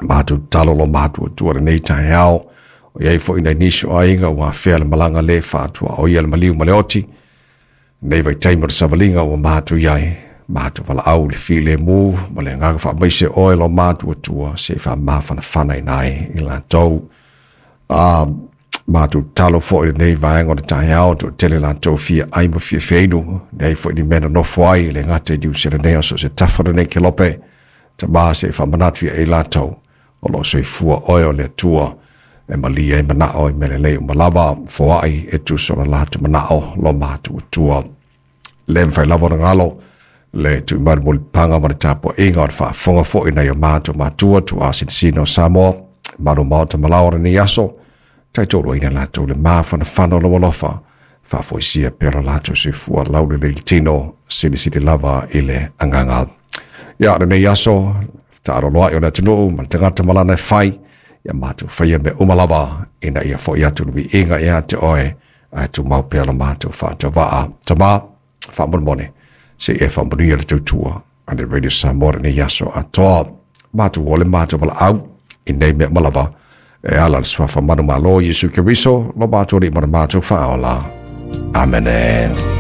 Matou tatalo lo matou Atua i lenei taeao, o i ai foi nai nisi o aiga ua afea le malaga le faatuaoia le maliu ma le oti. Nei vaitaimi o le savaliga ua matou i ai, matou valaau i le filemu ma le agaga faamaise oe lo matou Atua se i faamafanafanaina ai i latou. A matou tatalo foi i lenei vaega o le taeao, toatele latou fia ai ma fia feinu, leai foi ni mea nonofo ai, e le gata i Niu Sila nei, a o so o se tafa o lenei kelope. Tama se i faamanatu ia i latou, o lo o soifua oe o le Atua e malie ai manao i mea lelei uma lava, foai e tusa o le latou manao lo matou Atua. Le mafai lava ona galo le tui mai le mulipapaga ma le tapuaiga o le faafofoga foi nai o matou matua tuuasinasina o Samoa, malu maota malao o lenei aso, taitoluaina latou le mafanafana o lou alofa, faafoisia pea lo latou soifua laulelei le tino, silisili lava i le agaga. Ia, lenei aso, taaloloai o le atunuu ma le tagata ma lana e fai, ia matou faia mea uma lava, ina ia foi atu le viiga ia te oe, ae tumau pea lo matou faatauvaa. Tama, faamolemole, se i e faamanuia le tautua a le Radio Samoa lenei aso atoa. Matou o le matou valaau i nei mea uma lava, e ala le suafa manumalo Iesu Keriso, lo matou Alii ma le matou Faaola. Amene.